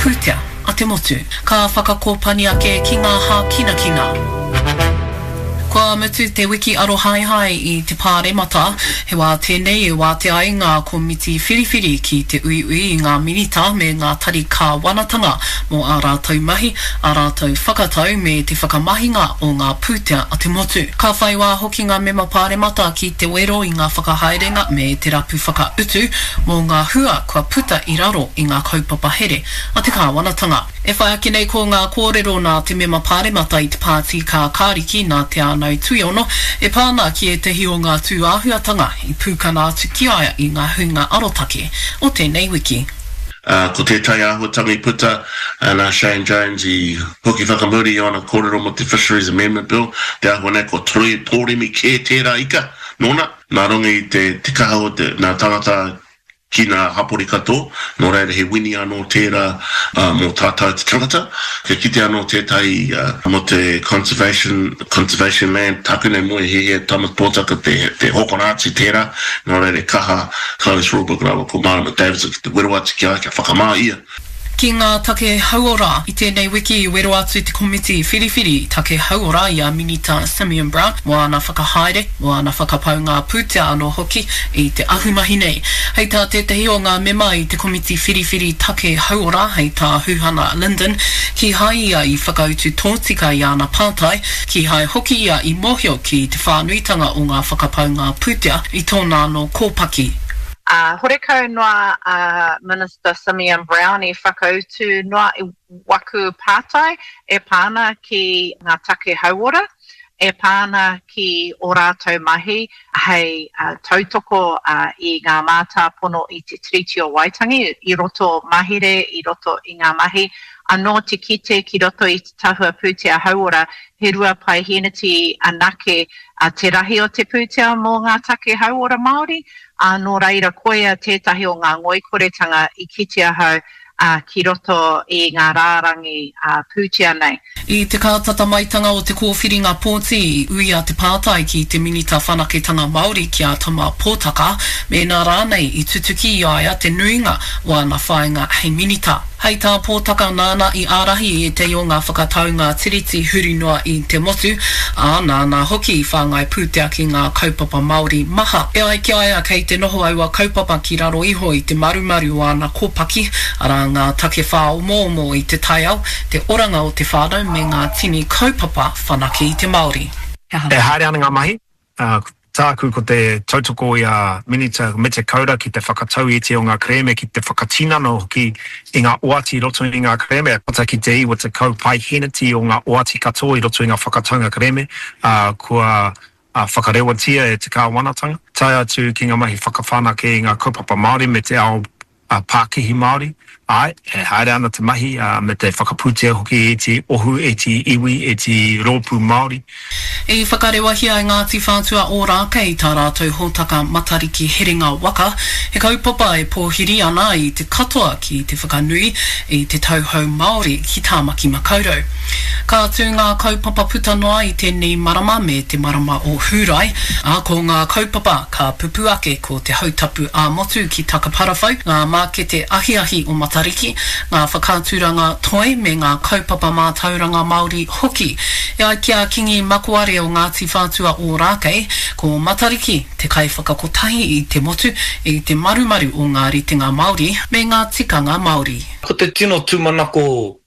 pūtea a te motu. Ka whakakōpani ake ki ngā hākinakina. Kua mutu te wiki arohaehae i te Pāremata, he wā tēnei e wātea ai ngā komiti whiriwhiri ki te uiui i ngā minita me ngā tari kāwanatanga mō ā rātou mahi, ā rātou whakatau me te whakamahinga o ngā pūtea a te motu. Ka whai wā hoki ngā mema Pāremata ki te wero i ngā whakahaerenga me te rapu whakautu mō ngā hua kua puta i raro i ngā kaupapa here a te kāwanatanga. E whai ake nei ko ngā kōrero nā te mema pāremata i te Pāti Kākāriki nā Te Ānau Tuiono e pā ana ki ētahi o ngā tūāhuatanga i pūkana atu ki a ia i ngā huinga arotake o tēnei wiki. Ko tētahi āhuatanga i puta, nā Shane Jones i hoki whakamuri i āna kōrero mō te Fisheries Amendment Bill, te āhua nei kua tōremi kē tērā ika nōna, nā runga i te kaha o te, nā tangata ki ngā hapori katoa, nō reira he wini anō tērā mō tātou te tangata. Kia kite anō tētahi mō te conservation, conservation land, tāku nei moe he he Thomas Pōtaka te, te hokona atu tērā, nō reira e kaha Clovis Rawburg rāua ko Marama Davidson ki te wero atu ki a ia kia whakamā ia. Ki ngā take hauora, i tēnei wiki i wero atu te Komiti Whiriwhiri Take Hauora i a Minita Simeon Brown mō āna whakahaere, mō āna whakapaunga pūtea anō hoki i te ahumahi nei. Hei tā tētahi o ngā mema i te Komiti Whiriwhiri Take Hauora, hei tā Huhana Lyndon, kīhai ia i whakautu tōtika i āna pātai, kīhai hoki ia i mōhio ki te whānuitanga o ngā whakapaunga pūtea i tōna anō kōpaki. Ā, horekau noa a Minister Simeon Brown i whakautu noa i waku pātai e pā ana ki ngā take hauora, e pā ana ki ō rātou mahi hei tautoko i ngā mātāpono i te Tiriti o Waitangi i roto mahere, i roto i ngā mahi anō te kite ki roto i te tahua pūtea hauora he 2 paeheneti anake te rahi o te pūtea mō ngā take hauora Māori, ā, nō reira koia tētahi o ngā ngoikoretanga i kite ahau ki roto i ngā rārangi pūtea nei. I te kātata maitanga o te kōwhiringa pōti, i uia te pātai ki te Minita Whanaketanga Māori ki a Tama Potaka mēnā rānei i tutuki i a ia te nuinga o ana whāinga hei Minita. Hei tā Pōtaka nāna i ārahi i ētahi o ngā whakataunga Tiriti huri noa i te motu, ā, nāna hoki i whāngai pūtea ki ngā kaupapa Māori maha. E ai ki a ia kei te noho aua kaupapa ki raro iho i te marumaru o ana kōpaki, arā ngā take whāomoomo i te taiao, te oranga o te whānau me ngā tini kaupapa whanake i te Māori. E haere ana ngā mahi, Ā, tāku ko te tautoko i a Minita Mete Kaura ki te whakatau i ētahi o ngā kerēme, ki te whakatinana hoki i ngā oati i roto i ngā kerēme, tata ki te 90 paeheneti o ngā oati katoa i roto i ngā whakataunga kerēme, ā, kua whakarewatia e te kāwanatanga, tae atu ki ngā mahi whakawhanake i ngā kaupapa Māori me te ao pākihi Māori, āe, e haere ana te mahi, ā, me te whakapūtea hoki i ētehi ohu, ētehi iwi, ētehi rōpū Māori. I whakarewahia e Ngāti Whātua Ōrākei tā rātou hōtaka Matariki Herenga Waka, he kaupapa e pōhiri ana i te katoa ki te whakanui i te tauhou Māori ki Tāmaki Makaurau. Ka tū ngā kaupapa puta noa i tēnei marama me te marama o Hūrae, ā, ko ngā kaupapa ka pupū ake ko te Hautapu ā-Motu ki Takaparawhau, ngā mākete ahiahi o Matariki, ngā whakaaturanga toi me ngā kaupapa mātauranga Māori hoki. E ai ki a Kingi Makoare o Ngāti Whātua Ōrākei, ko Matariki te kaiwhakakotahi i te motu i te marumaru o ngā ritenga Māori me ngā tikanga Māori. Ko te tino tūmanako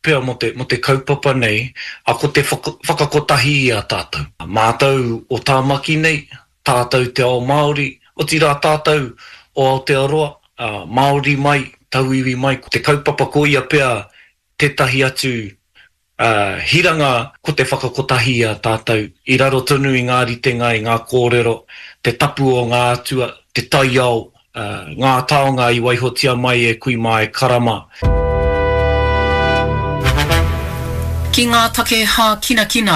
pea mō te, mō te kaupapa nei, a ko te whakakotahi i a tātou. Mātou o Tāmaki nei, tātou te ao Māori, otirā tātou o Aotearoa, ā, Māori mai, tauiwi mai, ko te kaupapa ko ia pea tētahi atu, ā, hiranga ko te whakakotahi i a tātou, i raro tonu i ngā ritenga, i ngā kōrero, te tapu o ngā atua, te taiao, Ngā taonga i waihotia mai e kui mā e kara mā. Ki ngā take hākinakina,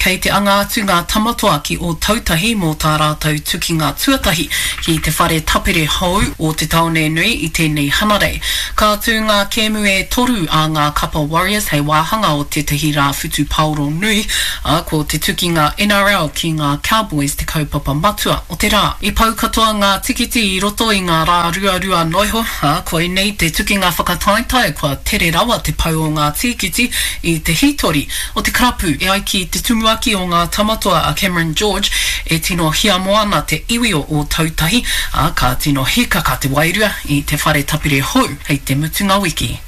kei te anga atu ngā Tamatoa ki Ōtautahi mō tā rātou tukinga tuatahi ki te whare tapere hou o te tāone nui i tēnei Hanarei. Ka tū ngā kēmu e toru a ngā kapa Warriors hei wāhanga o tētahi rā whutupaoro nui, ā, ko te tukinga NRL ki ngā Cowboys te kaupapa matua o te rā. I pau katoa ngā tikiti i roto i ngā rā ruarua noiho, ā, koinei te tukinga whakataetae kua tere rawa te pau o ngā tīkiti i te hītori o te karapu. E ai ki te tumuaki o ngā Tamatoa a Cameron George, e tino hiamo ana te iwi o Ōtautahi, ā, ka tino hīkaka te wairua i te whare tapere hou hei te mutunga wiki.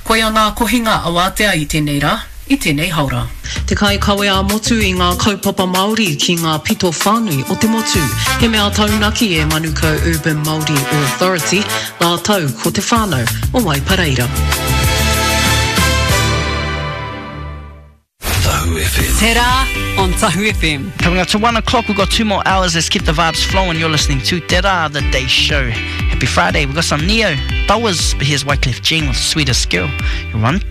Koia ngā kohinga awātea i tēnei rā. I tēnei haora. Te kaikawe ā-motu i ngā kaupapa Māori ki ngā pito whānui o te motu. He mea taunaki e Manukau Urban Māori Authority rātou ko te whānau o Waipareira. Tahu FM. Te Rā on Tahu FM. Coming up to one o'clock, we've got two more hours. Let's keep the vibes flowing. You're listening to Te Rā, the day show. Happy Friday. We've got some Ne-Yo, Towers, but here's Wyclef Jean with Sweetest Girl. You run.